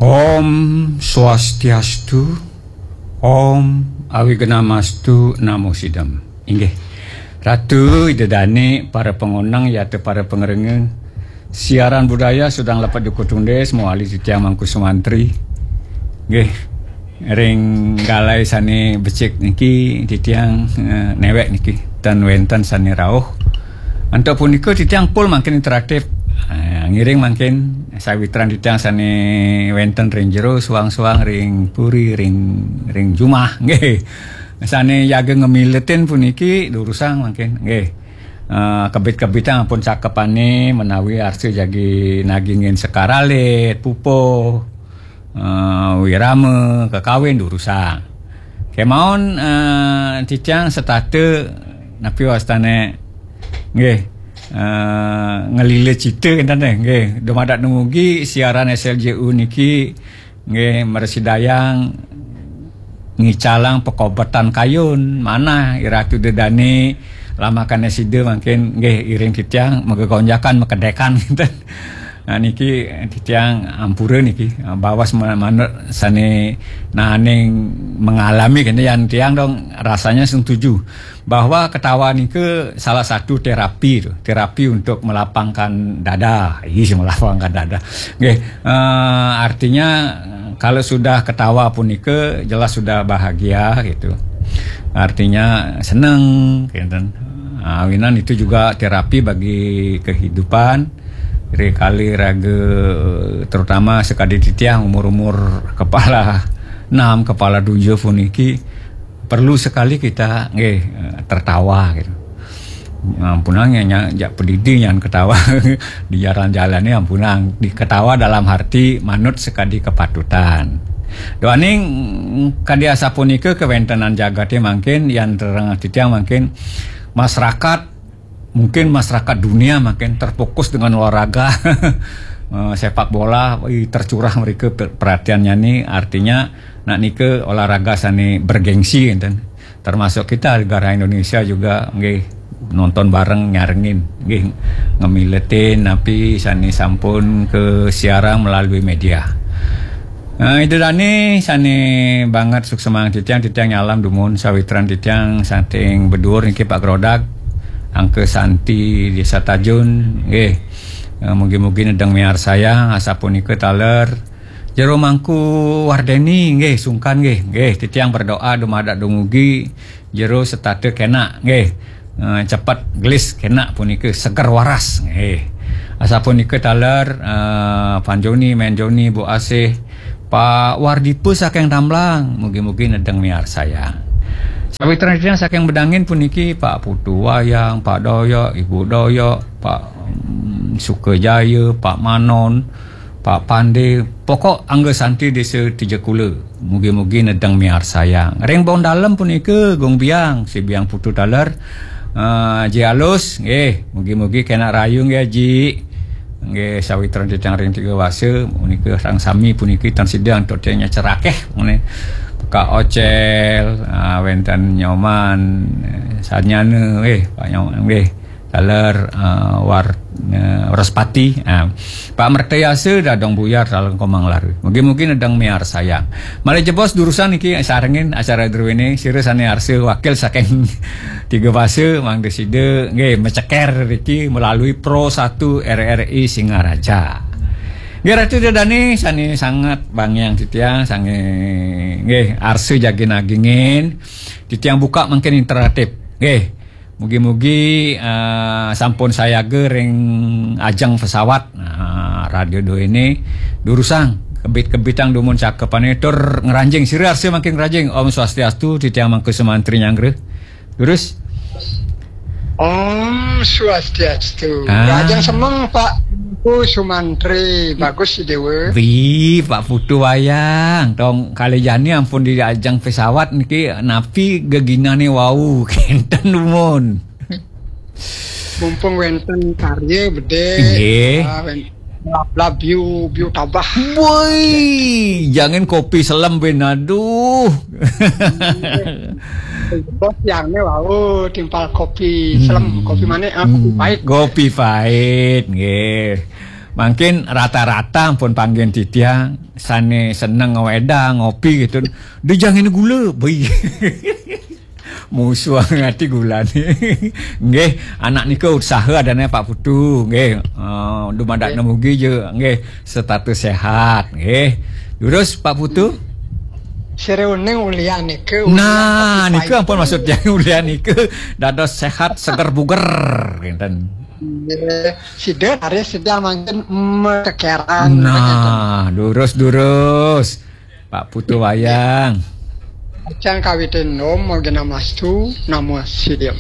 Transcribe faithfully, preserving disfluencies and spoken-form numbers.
Om Swastiastu, Om Awignamastu Namo Sidam. Inggih. Ratu, Ida Dane, para pangonang, yata para pangrengga. Siaran budaya sudang lepet duku tundis, mawali titiang Mangku Sumantri. Nggih. Ring galai sane becik niki titiang, eh, newek niki. Tan wenten sane rauh. Antuk punika titiang pul mangkin interaktif. Eh, ngiring mangkin sawitran titiang sane wenten ring jero, suang-suang ring puri, ring, ring jumah, nggih. Sane jaga ngemiletin puniki durusang mangkin, nggih. Eh, kebit-kebitang ampun cakepane menawi arsa jagi nagingin sekar alit, pupuh, eh, wirama, kekawin durusang. Kemawon, eh, titiang setata napi wastane, nggih, eh, ngelila cita kenten nggih. Dumadak dumugi siaran S L J U niki nggih mrasidayang ngicalang pakobetan kayun manah Iratu Dedane lamakane sida mangkin nggih iring titiang magegonjakan makedekan kenten. Nah, niki titiang ampura niki, eh, bawas ma-, manut sane naning mengalami kene yan tiang dong rasanya setuju bahwa ketawa nika salah satu terapi tu, terapi untuk melapangkan dada. Ih, melapangkan dada. Nggih, eh, artinya kalau sudah ketawa punika jelas sudah bahagia gitu. Artinya seneng gitu. Awinan itu juga terapi bagi kehidupan. Rikali raga, terutama sekadi titiang umur-umur kepala enam, kepala tujuh puniki, perlu sekali kita nggih, eh, tertawa gitu. Ampunang nya, nya jak pedidi nyan ketawa di jalan-jalan ni, ampunang di ketawa dalam arti manut sekadi kepatutan. Duaning kadi asapunika kewentenan jagate mangkin yan terengah titiang mangkin masyarakat mungkin masyarakat dunia makin terfokus dengan olahraga. Eh, sepak bola, ih, tercurah mereka per-, perhatiannya ni, artinya nak nika olahraga sane bergengsi enten. Termasuk kita negara Indonesia juga nggih nonton bareng nyarengin nggih ngemiletin napi sane sampun ke siaran melalui media. Eh, Ida Dane sane banget suksemang titiang, titiang nyalam dumun sawitran titiang saking Bedur niki Pak Grodak, Angka Santi Desa Tajun, nggih. Eh, mugi-mugi nedeng miarsayang asapunika taler. Jero Mangku Wardeni nggih sungkan nggih, nggih titiang berdoa dumadak dumugi jero setata kenak nggih. Eh, cepet gelis kenak punika seger waras nggih. Asapunika taler, eh, Pan Joni, Men Joni, Bu Asih, Pak Wardipa saking Tamblang, mugi-mugi nedeng miarsayang. Sawitran titiang saking Bedangin puniki Pak Putu Wayang, Pak Doyok, Ibu Doyok, Pak, mm, Sukajaya, Pak Manon, Pak Pande, pokok Angga Santi Desa Tijakula. Mugi-mugi nedeng miarsayang. Ring Bong Dalem punika Gung Biang, si Biang Putu taler. Ah, Ji Alus, nggih, mugi-mugi kenak rayu nggih, Ji. Nggih, sawitran titiang ring Tiga Wasa, punika sareng sami puniki tan sida antuk titiang nyacerakeh, ngene. Pak Ocel, ah, wenten Nyoman, eh, Sarnyana, nggih, Pak Nyoman, nggih. Taler, eh, War-, eh, Wraspati, eh, Pak Mertayasa dadong buyar taler Komang Laru. Mugi-mugi nedeng miarsayang. Malih jebos durusang niki sarengin acara druene, sira sane arsa wakil saking Tiga Basa mangda sida nggih maceker riki melalui Pro satu R R I Singaraja. Nggih Ratu Dadane sane sanget bangiang titiang sange nggih arsa jagi nagingin titiang buka mangkin interaktif. Nggih. Mugi-mugi, eh, sampun sayaga ring ajeng pesawat. Nah, radio do ini durusang kebit-kebitang dumun cakepane tur ngranjing sira arsa makin ngranjing. Om Swastiastu, titiang Mangku Sumantri nyanggra. Durus? Om Swastiastu. Ah. Ngranjing semeng Pak Mangku Sumantri. Bagus si Dewa. Wi, Pak Putu Wayang. Tong kali jani ampun di ajeng pesawat niki napi geginane wau kenten dumun. Mumpung wenten karya bede. Nggih. Ah, wen-, lab-lab biu, biu tabah. Woi, jangan kopi selem ben aduh. Bos yang ne wau timpal kopi selem, hmm, kopi manis, ah, kopi pahit. Kopi pahit, nggih. Mangkin rata-rata ampun panggen titiang sane seneng ngawedang ngopi gitu. Dejang ini gula, beuh. Musuh ati gulane. Nggih, anak nika usaha adane Pak Putu, nggih. Eh, dumadak nemu gija, nggih, status sehat, nggih. Durus Pak Putu? Sira uning ulian nika, nah, ulian nika ampun maksud tiang ulian nika dados sehat seger buger, ngenten. Nggih, sida hari sedang mangkin metekeran. Nah, durus-durus. Pak Putu Wayang. Acan kawitin nom, mogi namastu, namo sidim.